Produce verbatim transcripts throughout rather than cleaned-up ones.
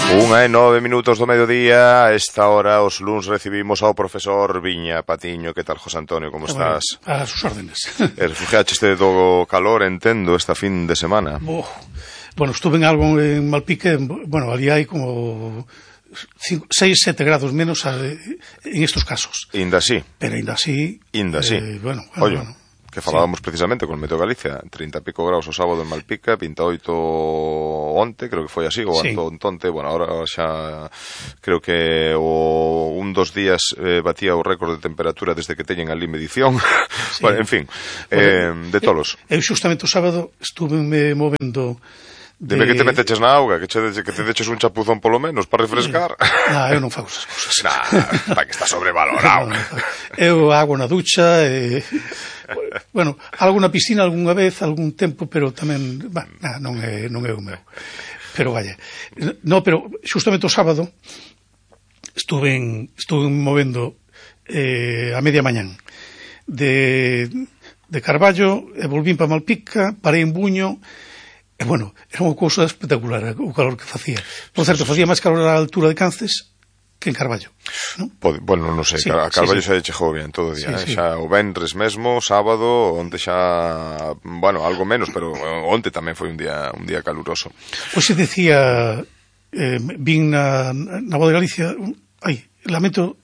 Unha e nove minutos do mediodía. A esta hora os luns recibimos ao profesor Viña Patiño. Que tal, José Antonio, como estás? Bueno, a sus órdenes. E refugiaste do calor, entendo, esta fin de semana. Oh, bueno, estuve en algo en Malpique. Bueno, ali hai como seis, sete grados menos en estos casos. Inda así. Pero inda así. Inda así. Eh, bueno, bueno, Oye, bueno. Que falábamos sí. precisamente con Meteo Galicia, treinta e pico graus o sábado en Malpica, vinte e oito onte, creo que foi así, o sí. Antonte, bueno, ahora xa creo que o un dos días eh, batía o récord de temperatura desde que teñen ali medición. Sí. Bueno, en fin, eh, bueno, de tolos. Eu xustamente o sábado estuve me movendo. De... Dime que te meteches na auga, que, che, que te deches un chapuzón polo menos para refrescar. Non, eu non fago esas cousas. Nah, para que está sobrevalorado. No, no, no. Eu hago na ducha, e... bueno, algo na piscina algunha vez, algún tempo, pero tamén, bah, nah, non é, non é o meu. Pero vaya. No, pero xustamente o sábado estuve en, estuve movendo eh, a media mañán de, de Carballo, e volvín para Malpica, parei en Buño. E, bueno, era unha cousa espectacular o calor que facía. Por certo, facía máis calor á altura de Cances que en Carballo, non? Bueno, non sei, sí, a Carballo sí, xa sí. chegou bien todo o día, sí, eh? sí. Xa o venres mesmo, sábado, onde xa, bueno, algo menos, pero onte tamén foi un día un día caluroso. Pois se decía, eh, vin na, na Voz de Galicia, ai, lamento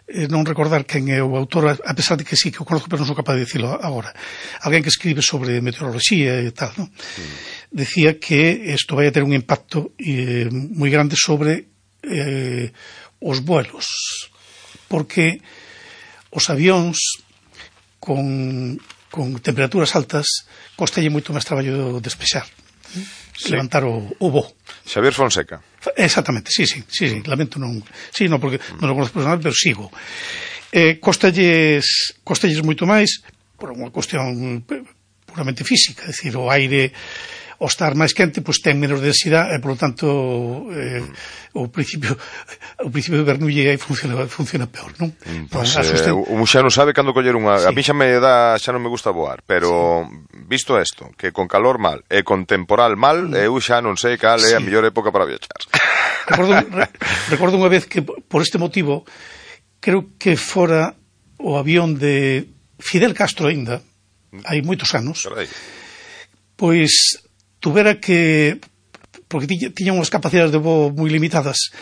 eh, non recordar quen é o autor, a pesar de que sí que o conozco, pero non sou capaz de dicilo agora. Alguén que escribe sobre meteoroloxía e tal, non? Mm. Decía que isto vai a ter un impacto eh, moi grande sobre eh, os vuelos, porque os avións con, con temperaturas altas costalle moito máis traballo despexar, sí. levantar o, o voo. Xavier Fonseca. Exactamente, sí, sí, sí, sí, lamento non, sí, non, porque non o conozco personal, pero sigo. Eh, costalles, costalles moito máis por unha cuestión puramente física, é dicir, o aire, ao estar máis quente, pois ten menos densidade e, por lo tanto, eh, o principio o principio de Bernoulli aí funciona, funciona peor, non? Pois, pues, eh, un xa non sabe cando coller unha... Sí. A mí xa me dá, xa non me gusta voar, pero sí. Visto isto, que con calor mal e con temporal mal, mm. eu xa non sei cal é sí. a mellor época para viaxar. Recordo, re, recordo unha vez que, por este motivo, creo que fora o avión de Fidel Castro ainda, hai moitos anos, Carai. Pois tuvera que, porque tiña, tiña unhas capacidades de voo moi limitadas,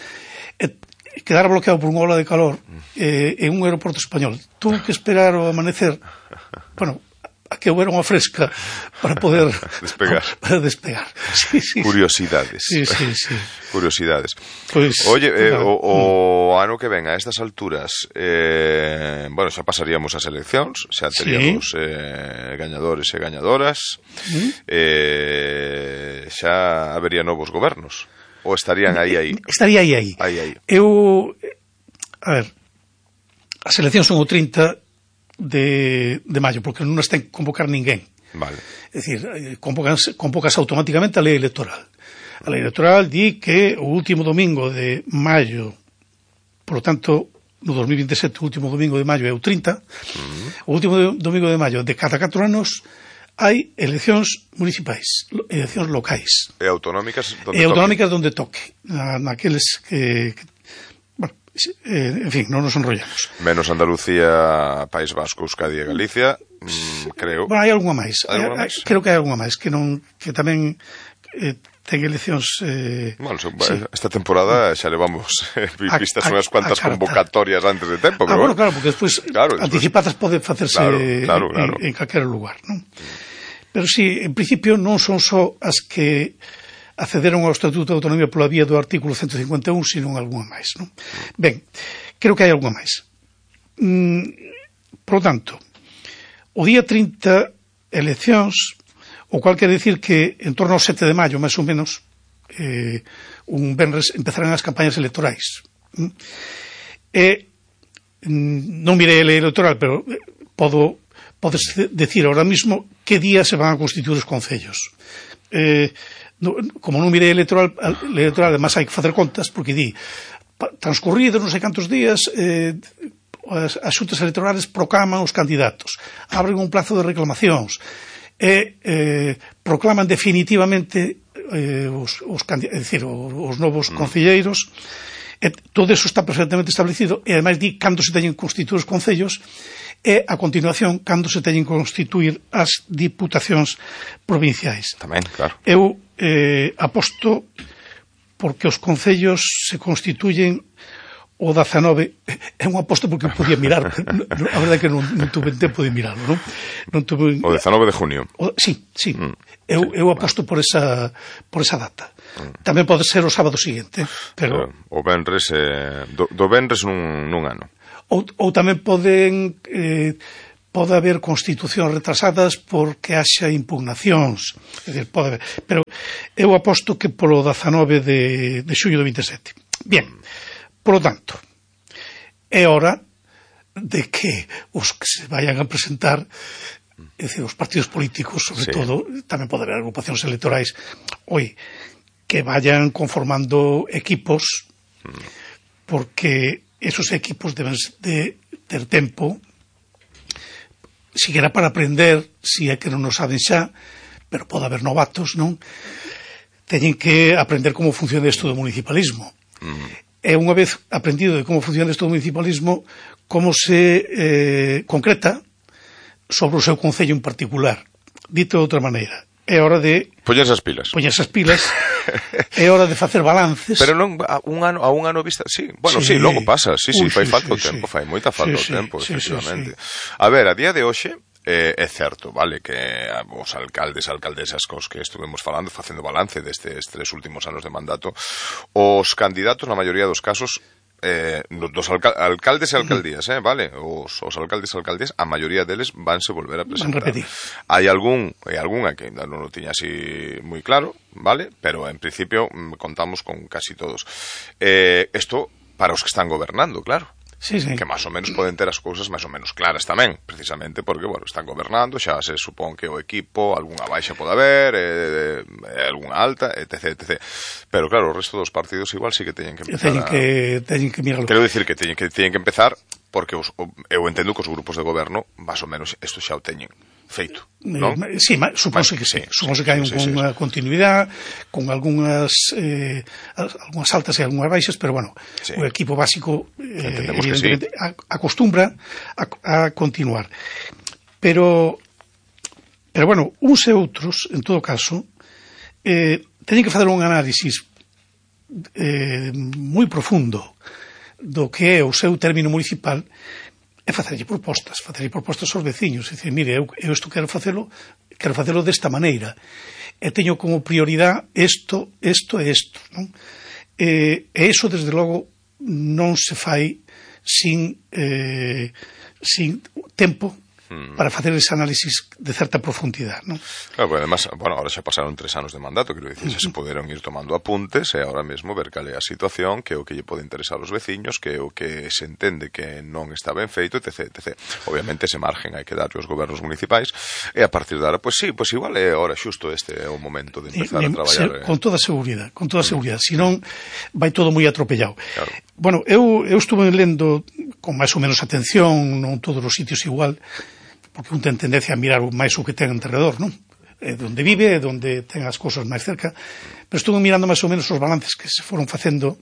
e quedara bloqueado por unha ola de calor eh, en un aeroporto español. Tuve que esperar o amanecer, bueno, a que houbera unha fresca para poder despegar. Para despegar. Sí, sí, curiosidades. Sí, sí, sí. Curiosidades. Pues, Oye, eh, claro. o, o ano que ven a estas alturas, eh, bueno, xa pasaríamos as eleccións, xa teríamos sí. eh, gañadores e gañadoras, ¿Mm? eh, xa habería novos gobernos, ou estarían aí aí? Estaría aí aí. aí, aí. Eu, a ver, as eleccións son o trinta de, de maio, porque non as ten que convocar ninguén. Vale. É dicir, convocas, convocas automáticamente a lei electoral. A lei electoral di que o último domingo de maio, por lo tanto, no dos mil vinte e sete, o último domingo de maio é o trinta, uh-huh. o último domingo de maio de cada catro anos hai eleccións municipais, eleccións locais. E autonómicas donde e toque. autonómicas donde toque. Na, naqueles que... que bueno, eh, en fin, non nos enrollamos. Menos Andalucía, País Vasco, Euskadi e Galicia, mm, creo. Bueno, hai algunha máis. Hai alguna máis? Creo que hai algunha máis, que non que tamén eh, ten eleccións... Eh, bueno, so, sí. Esta temporada xa levamos eh, vistas unhas cuantas convocatorias antes de tempo. Ah, pero bueno, claro, porque despois, claro, despois anticipadas pode facerse claro, claro, claro. en, en calquera lugar, non? Pero sí, en principio non son só as que accederon ao Estatuto de Autonomía pola vía do artículo ciento cincuenta e un, sino algunha máis, non? Ben, creo que hai algunha máis. Mm, por lo tanto, o día trinta, eleccións, o cual quere dicir que en torno ao sete de maio, máis ou menos, eh, un venres empezarán as campañas electorais. Mm? E mm, non mirei a lei electoral, pero podo podes decir ahora mismo que día se van a constituir os concellos. Eh, no, como non mirei electoral, electoral, además hai que facer contas, porque di, transcurridos non sei cantos días, eh, as, as xuntas electorales proclaman os candidatos, abren un plazo de reclamacións, e eh, proclaman definitivamente eh, os, os, é dicir, os novos mm. concelleiros, e todo eso está perfectamente establecido, e ademais di cando se teñen constituir os concellos, e a continuación cando se teñen constituir as diputacións provinciais. Tamén, claro. Eu eh, aposto porque os concellos se constituyen o dezanove, é un aposto porque podía mirar, a verdade é que non, non tuve tempo de mirarlo, non? non tuve... O dezanove de junio. O, sí, sí, mm, sí, eu, eu aposto por esa, por esa data. Mm. Tamén pode ser o sábado seguinte, pero... O venres, eh, do, do venres nun, nun ano. Ou, ou tamén poden... Eh, pode haber constitucións retrasadas porque haxa impugnacións, é dicir, pode haber, pero eu aposto que polo dezanove de, de xullo do vinte e sete. Bien, por lo tanto, é hora de que os que se vayan a presentar, é dicir, os partidos políticos, sobre sí. todo, tamén pode haber agrupacións electorais, oi, que vayan conformando equipos, porque esos equipos deben de ter tempo, siquiera para aprender, si é que non o saben xa, pero pode haber novatos, non? Teñen que aprender como funciona isto do municipalismo. Mm. E unha vez aprendido de como funciona isto do municipalismo, como se eh, concreta sobre o seu concello en particular. Dito de outra maneira, é hora de... Poñerse as pilas. Poñerse as pilas. É hora de facer balances. Pero non a un ano a un ano vista, sí. Bueno, sí, sí logo pasa, sí, sí, Uy, fai sí, falta sí, o tempo, sí. fai moita falta sí, o tempo, sí, efectivamente. Sí, sí. A ver, a día de hoxe eh, é certo, vale, que os alcaldes, alcaldesas cos que estuvemos falando, facendo balance destes tres últimos anos de mandato, os candidatos, na maioría dos casos, eh, dos alca alcaldes e alcaldías, eh, vale? Os, os alcaldes e alcaldías, a maioría deles vanse volver a presentar. Hai algún, hai algunha que ainda non o tiña así moi claro, vale? Pero en principio contamos con casi todos. Eh, esto para os que están gobernando, claro. Sí, sí. Que máis ou menos poden ter as cousas máis ou menos claras tamén, precisamente porque, bueno, están gobernando, xa se supón que o equipo, algunha baixa pode haber, eh, eh, algunha alta, etc, etcétera. Pero claro, o resto dos partidos igual sí que teñen que empezar teñen que, a... teñen que mirarlo. Quero dicir que teñen que, teñen que empezar porque os, eu entendo que os grupos de goberno, máis ou menos, isto xa o teñen feito, non? Eh, sí, supónse que sí, sí supónse que hai sí, sí, unha sí. continuidade con algunhas eh, algunhas altas e algunhas baixas, pero bueno, sí. o equipo básico eh, evidentemente sí. acostumbra a, a continuar. Pero pero bueno, uns e outros, en todo caso, eh, teñen que facer un análisis eh, moi profundo do que é o seu término municipal é facerlle propostas, facerlle propostas aos veciños, é dicir, mire, eu, eu isto quero facelo, quero facelo desta maneira, e teño como prioridade isto, isto e isto, non? E, e iso, desde logo, non se fai sin, eh, sin tempo para facer ese análisis de certa profundidade, non? Claro, porque además, bueno, ahora xa pasaron tres anos de mandato, quero dicir, xa se poderon ir tomando apuntes e agora mesmo ver cal é a situación, que é o que lle pode interesar aos veciños, que é o que se entende que non está ben feito, etc, etcétera. Obviamente ese margen hai que darlle aos gobernos municipais e a partir de ahora, pois sí, pois igual é ahora xusto este é o momento de empezar e, a traballar. Se, con toda seguridade, con toda seguridade, senón vai todo moi atropellado. Claro. Bueno, eu, eu estuve lendo con máis ou menos atención, non todos os sitios igual, porque un ten tendencia a mirar máis o que ten alrededor, non? É onde vive, é onde ten as cousas máis cerca, pero estuve mirando máis ou menos os balances que se foron facendo,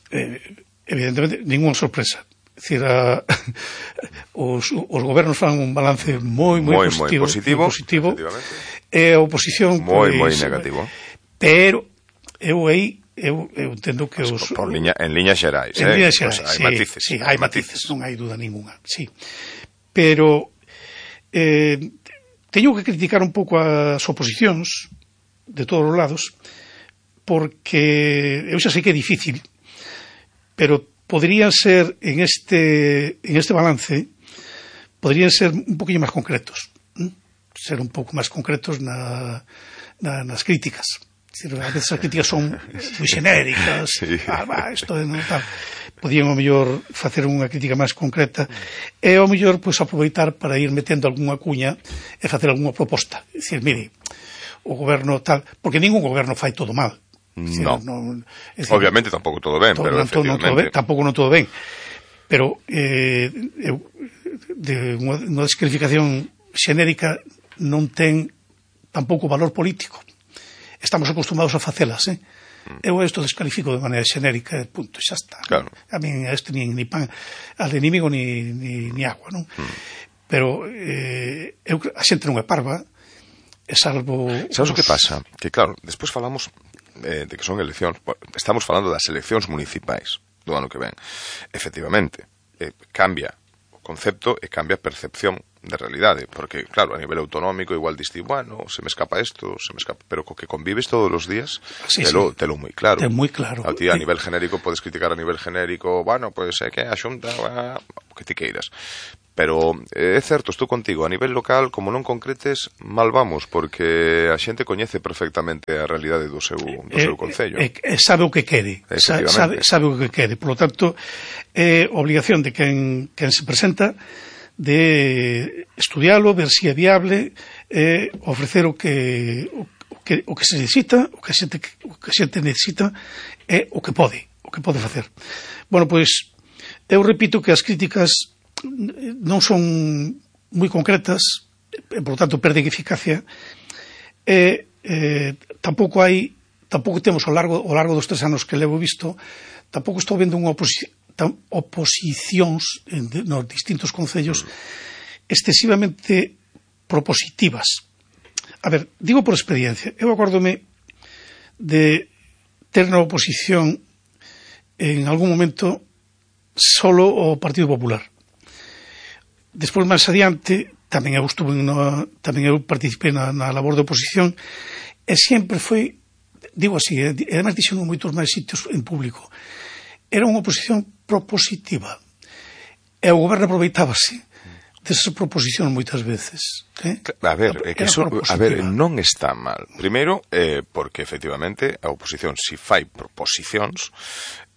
eh, evidentemente, ninguna sorpresa. É dicir, a, os, os gobernos fan un balance moi, moi, moi positivo, moi positivo, moi positivo e a oposición moi, pues, moi negativo. Pero eu aí eu, eu entendo que os... Por liña, en liñas xerais, en eh? liñas xerais, pues, hai sí, matices. Sí, hai matices, non hai duda ninguna, sí. Pero eh, teño que criticar un pouco as oposicións de todos os lados, porque eu xa sei que é difícil, pero podrían ser en este en este balance, podrían ser un poquinho máis concretos, ¿eh? Ser un pouco máis concretos na, na, nas críticas. A veces as críticas son moi xenéricas, sí. ah, bah, isto é non tal. Podían, ao mellor, facer unha crítica máis concreta e, ao mellor, pois, aproveitar para ir metendo algunha cuña e facer algunha proposta. É dicir, mire, o goberno tal... Porque ningún goberno fai todo mal. Decir, no. non, decir, obviamente tampouco todo ben, todo, pero non, efectivamente... Non todo ben, tampouco non todo ben. Pero, eh, eu, de unha, unha descalificación xenérica, non ten tampouco valor político. Estamos acostumados a facelas, eh? Eu isto descalifico de maneira xenérica, punto, xa está. Claro. A mí este nin, ni pan al enemigo ni, ni, ni agua, non? Mm. Pero eh, eu, a xente non é parva, é salvo... Sabes o que pasa? Que claro, despois falamos eh, de que son eleccións, estamos falando das eleccións municipais do ano que ven. Efectivamente, eh, cambia o concepto e cambia a percepción de realidade, porque, claro, a nivel autonómico igual diste, bueno, se me escapa isto, se me escapa, pero co que convives todos os días, sí, telo, sí. telo moi claro. Ten moi claro. A ti a nivel genérico podes criticar a nivel genérico, bueno, pois pues, é que a xunta, bah, o que ti queiras. Pero é certo, estou contigo, a nivel local, como non concretes, mal vamos, porque a xente coñece perfectamente a realidade do seu, do eh, seu concello. Eh, eh, sabe o que quere, sabe, sabe o que quere. Por lo tanto, é eh, obligación de quen, quen se presenta de estudialo, ver se si é viable, eh, ofrecer o que, o, que o que se necesita, o que a xente, o que a xente necesita é o que pode, o que pode facer. Bueno, pois, eu repito que as críticas non son moi concretas, e, por lo tanto, perden eficacia, e eh, tampouco hai, tampouco temos ao largo, ao largo dos tres anos que levo visto, tampouco estou vendo unha oposición oposicións nos distintos concellos excesivamente propositivas. A ver, digo por experiencia, eu acórdome de ter na oposición en algún momento solo o Partido Popular. Despois, máis adiante, tamén eu estuve na, tamén eu participei na, na labor de oposición, e sempre foi, digo así, e además dixen en moitos máis sitios en público, era unha oposición propositiva. E o goberno aproveitábase desas proposicións moitas veces. Eh? A ver, é que eso, a ver, non está mal. Primeiro, eh, porque efectivamente a oposición, si fai proposicións,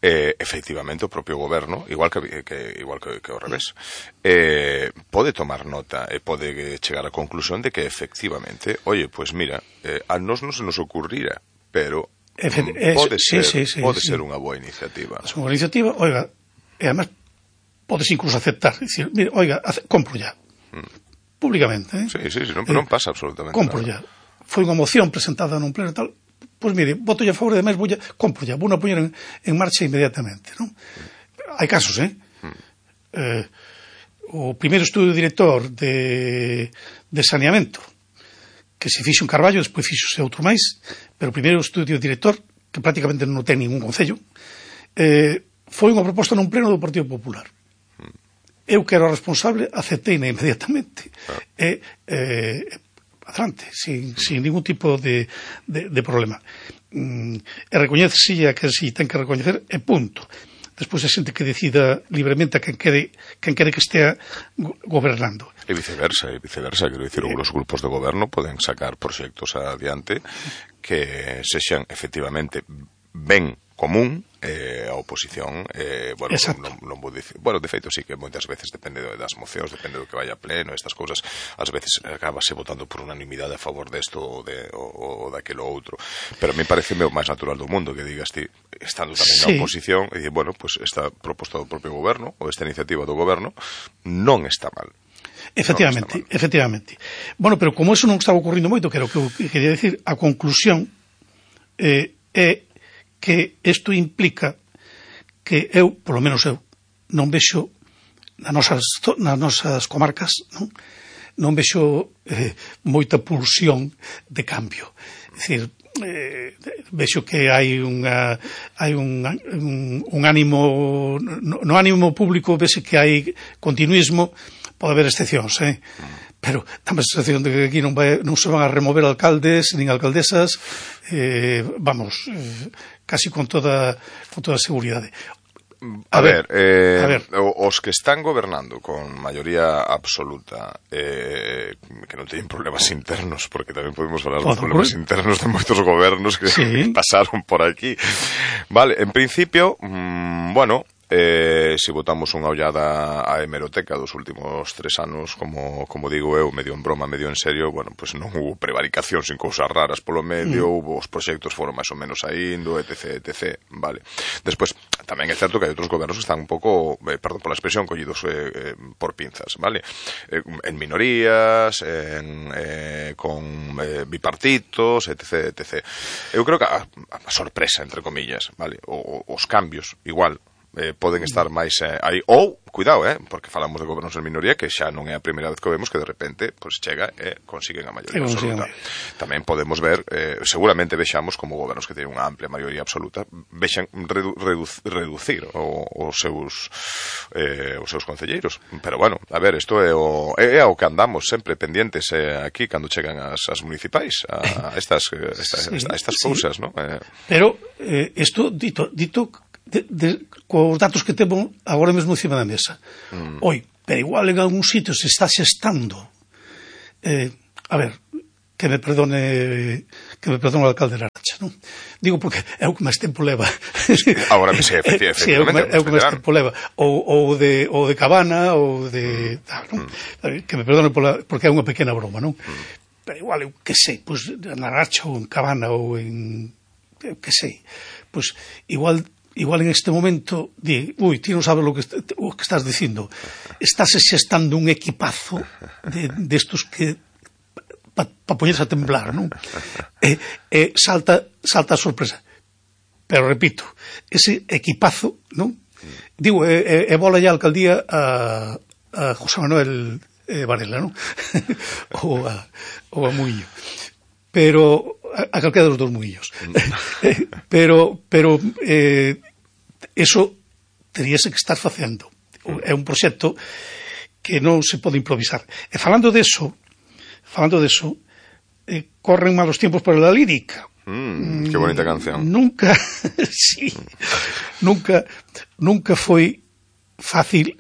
eh, efectivamente o propio goberno, igual que, que igual que, que ao revés, eh, pode tomar nota e pode chegar á conclusión de que efectivamente, oye, pues mira, eh, a nos non se nos ocurrira, pero Efe, pode ser, sí, sí, sí, pode sí. ser unha boa iniciativa. É unha iniciativa, oiga, e además podes incluso aceptar, dicir, mira, oiga, hace, compro ya, mm. públicamente, eh? Sí, sí, sí, non, eh, non pasa absolutamente compro nada. ya. Foi unha moción presentada nun pleno e tal, pois pues, mire, voto ya a favor, además, voy a, compro ya, vou a poñer en, en marcha inmediatamente, non? Mm. Hai casos, eh? Mm. eh? O primeiro estudio director de, de saneamento, que se fixo en Carballo, despois fixose outro máis, pero o primeiro estudio director, que prácticamente non ten ningún concello, eh, foi unha proposta nun pleno do Partido Popular. Eu que era o responsable, aceptei-na inmediatamente. Ah. E, eh, adelante, sin, sin ningún tipo de, de, de problema. Mm, e recoñece que si ten que recoñecer, e punto. Despois a xente que decida libremente a quen quere, quen quere que estea gobernando. E viceversa, e viceversa, quero dicir, eh, os grupos de goberno poden sacar proxectos adiante que sexan efectivamente ben común, eh, a oposición, eh, bueno, non, non vou dicir, bueno, de feito sí que moitas veces depende das mocións, depende do que vaya a pleno, estas cousas, ás veces acabase votando por unanimidade a favor desto ou de, ou, ou daquelo outro, pero a mí parece o máis natural do mundo que digas ti, estando tamén sí. na oposición, e dicir, bueno, pues esta proposta do propio goberno, ou esta iniciativa do goberno, non está mal. Efectivamente, no efectivamente. Bueno, pero como eso non estaba ocurrindo moito, que era o que eu quería decir, a conclusión eh, é que isto implica que eu, polo menos eu, non vexo nas nosas, nas nosas comarcas, non, non vexo eh, moita pulsión de cambio. É dicir, eh, vexo que hai unha hai un, un, un ánimo no, no ánimo público vese que hai continuismo, pode haber excepcións, eh? Pero tamén a sensación de que aquí non, vai, non se van a remover alcaldes nin alcaldesas, eh, vamos, eh, casi con toda con toda seguridade. A, a ver, ver, eh, a ver, os que están gobernando con maioría absoluta, eh, que non teñen problemas internos, porque tamén podemos falar dos problemas internos de moitos gobernos que, sí. que pasaron por aquí. Vale, en principio, mmm, bueno, eh, eh, se botamos unha ollada á hemeroteca dos últimos tres anos, como, como digo eu, medio en broma, medio en serio, bueno, pues non hubo prevaricación sin cousas raras polo medio, mm. hubo os proxectos foron máis ou menos aindo, etc, etc, vale. Despois, tamén é certo que hai outros gobernos que están un pouco, eh, perdón pola expresión, collidos eh, eh, por pinzas, vale? Eh, en minorías, en, eh, con eh, bipartitos, etc, etc. Eu creo que a, a sorpresa, entre comillas, vale? O, os cambios, igual, eh, poden estar máis eh, aí, ou, cuidado, eh, porque falamos de gobernos en minoría que xa non é a primeira vez que o vemos que de repente pues, chega e consiguen a maioría absoluta. Tamén podemos ver, eh, seguramente vexamos como gobernos que teñen unha amplia maioría absoluta vexan redu redu reducir o, os seus eh, os seus concelleiros, pero bueno, a ver, isto é o, é, é o que andamos sempre pendientes eh, aquí cando chegan as, as municipais a, a estas, estas, sí, a estas sí. cousas, ¿no? Eh, pero eh, isto dito, dito De, de, cos datos que temos agora mesmo encima da mesa. Mm. Oi, pero igual en algún sitio se está xestando eh, a ver, que me perdone que me perdone o alcalde de Laracha, non? Digo porque é o que máis tempo leva. Agora me sei, efectivamente. Sí, é o que máis tempo leva. Ou, ou, de, ou de Cabana, ou de... Mm. Tal, non? Mm. Que me perdone pola, porque é unha pequena broma, non? Mm. Pero igual, eu que sei, pois, pues, en Laracha ou en Cabana ou en... eu que sei, pois, pues, igual... Igual en este momento, di, ui, ti non sabes lo que, o que estás dicindo. Estás xestando un equipazo de, de estos que para pa poñerse a temblar, non? E, e salta, salta a sorpresa. Pero, repito, ese equipazo, non? Digo, e, e, e bola ya a alcaldía a, a José Manuel eh, Varela, non? ou, a, ou a Muiño. Pero... a calquera dos dos muillos. pero pero eh, eso teríase que estar facendo. É un proxecto que non se pode improvisar. E falando de eso, falando de eso, eh, corren malos tiempos para la lírica. Mm, que bonita canción. Nunca, sí, nunca, nunca foi fácil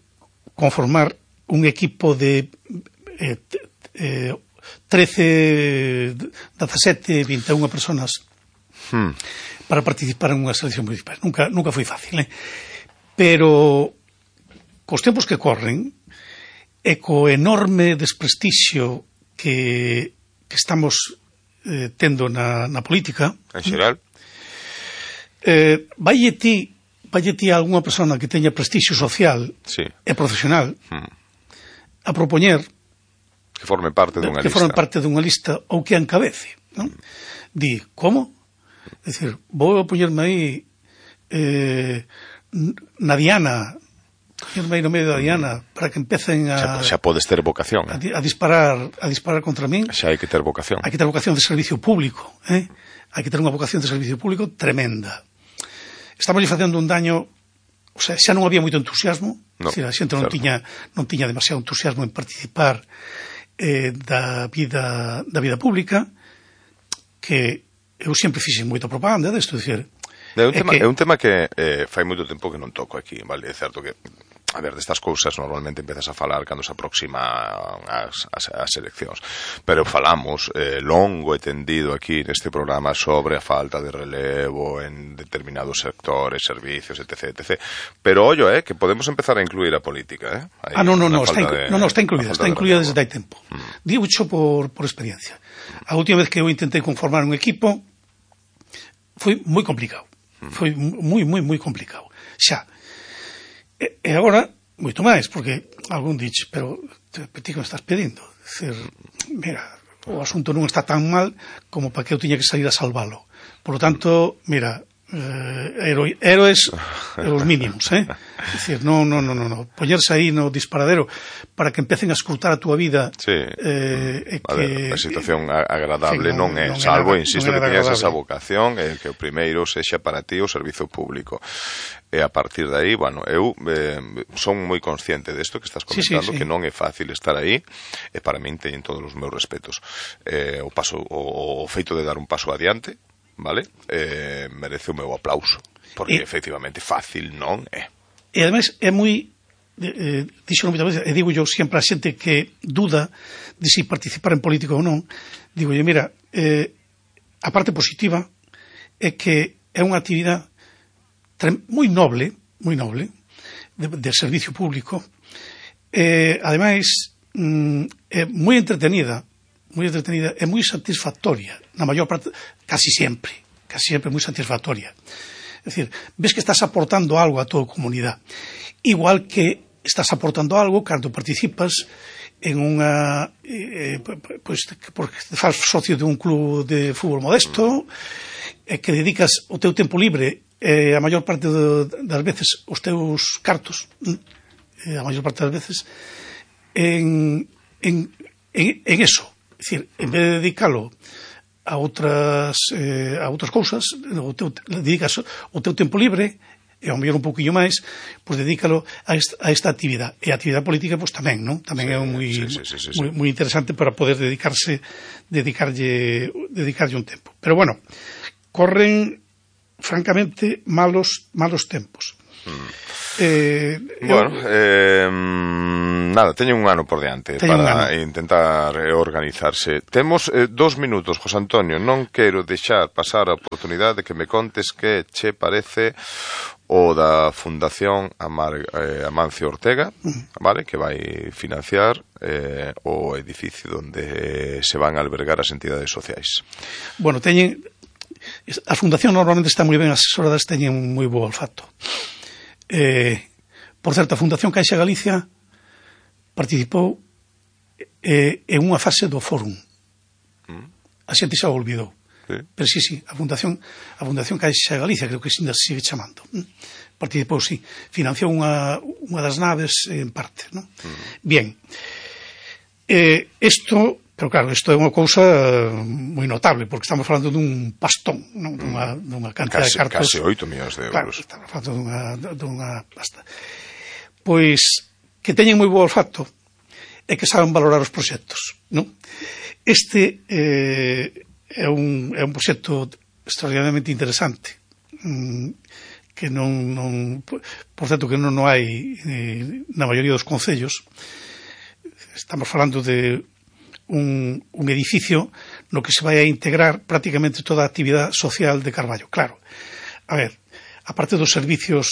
conformar un equipo de eh, eh, trece, dezasete, vinte e unha personas hmm. para participar en unha selección municipal. Nunca, nunca foi fácil, eh? Pero cos tempos que corren e co enorme desprestixio que, que estamos eh, tendo na, na política en xeral eh, vaille ti vaille ti a algunha persona que teña prestixio social sí. e profesional hmm. a propoñer que forme parte dunha que lista. forme parte dunha lista ou que a encabece, non? Di, como? É dicir, vou a poñerme aí eh, na Diana, poñerme aí no medio da Diana para que empecen a... Xa, xa podes ter vocación, eh? A, a disparar a disparar contra min. Xa hai que ter vocación. Hai que ter vocación de servicio público, eh? Hai que ter unha vocación de servicio público tremenda. Estamos facendo un daño, o sea, xa non había moito entusiasmo, no, decir, a xente non tiña, non tiña demasiado entusiasmo en participar Eh, da vida da vida pública, que eu sempre fixen moita propaganda desto, dicir, é un, é tema, que... é un tema que eh, fai moito tempo que non toco aquí, vale? É certo que, a ver, destas cousas normalmente empezas a falar cando se aproxima as, as, as eleccións, pero falamos eh, longo e tendido aquí neste programa sobre a falta de relevo en determinados sectores, servicios, etc, etc. Pero ollo, eh, que podemos empezar a incluir a política, eh? Hay ah, no, no, no, está, de, no, no, está incluída, está incluída desde hai tempo. Mm. Digo xo por, por experiencia. A última vez que eu intentei conformar un equipo foi moi complicado. Mm. Foi moi, moi, moi complicado. Xa. E, e agora, moito máis, porque algún dixe, pero ti que me estás pedindo? Decir, mira, o asunto non está tan mal como para que eu tiña que salir a salvalo. Por lo tanto, mira, eh, héroe, héroes os mínimos, eh? Decir, non, non, non, non, poñerse aí no disparadero para que empecen a escrutar a túa vida. Sí. Eh, a ver, a situación agradable sí, non, non é, non salvo, é, insisto, non que teñas esa vocación, eh, que o primeiro sexa para ti o servizo público. E a partir de aí, bueno, eu eh, son moi consciente desto que estás comentando, sí, sí, sí. que non é fácil estar aí, e para min teñen todos os meus respetos. Eh, o paso, o, o feito de dar un paso adiante, vale? Eh, merece o meu aplauso, porque e, efectivamente fácil non é. E ademais é moi eh, dixo moitas veces, e digo yo sempre a xente que duda de si participar en política ou non, digo yo, mira, eh, a parte positiva é que é unha actividade moi noble, moi noble, de, de servicio público. Eh, ademais, mm, é moi entretenida, moi entretenida, é moi satisfactoria, na maior parte, casi sempre, casi sempre moi satisfactoria. É dicir, ves que estás aportando algo a tua comunidade, igual que estás aportando algo cando participas en unha eh, pois, porque te faz socio de un club de fútbol modesto, eh, que dedicas o teu tempo libre, eh, a maior parte de, das veces os teus cartos, eh, a maior parte das veces en, en, en, en eso. É dicir, en vez de dedicalo a outras eh, a outras cousas, o teu, dedicas o teu tempo libre, e ao mellor un pouquinho máis, pois dedícalo a esta, a esta actividade. E a actividade política, pois tamén, non? Tamén sí, é moi, sí, sí, sí, sí, moi, moi interesante para poder dedicarse, dedicarlle, dedicarlle un tempo. Pero bueno, corren, francamente, malos, malos tempos. Mm. Eh, bueno, eu, eh, nada, teñen un ano por diante para intentar organizarse. Temos eh, dos minutos, José Antonio. Non quero deixar pasar a oportunidade de que me contes que che parece o da Fundación Amar, eh, Amancio Ortega, vale, que vai financiar eh, o edificio onde se van a albergar as entidades sociais. Bueno, teñen... A Fundación normalmente está moi ben asesoradas, teñen moi bo olfato. Eh, por certo, a Fundación Caixa Galicia participou eh, en unha fase do fórum. A xente xa o olvidou. Sí. Pero sí, sí, a Fundación a Fundación Caixa Galicia, creo que ainda se sigue chamando, participou, sí, financiou unha, unha das naves en parte, non? Mm. Bien, eh, isto, pero claro, isto é unha cousa moi notable, porque estamos falando dun pastón, non? Dunha, dunha cantidad casi, de cartos. Casi oito millóns de euros. Claro, estamos falando dunha, dunha pasta. Pois, que teñen moi bo olfato e que saben valorar os proxectos, non? Este eh, é un, é un proxecto extraordinariamente interesante, mm, que non, non por certo que non, non hai eh, na maioría dos concellos. Estamos falando de un, un edificio no que se vai a integrar prácticamente toda a actividade social de Carballo. Claro, a ver, aparte dos servicios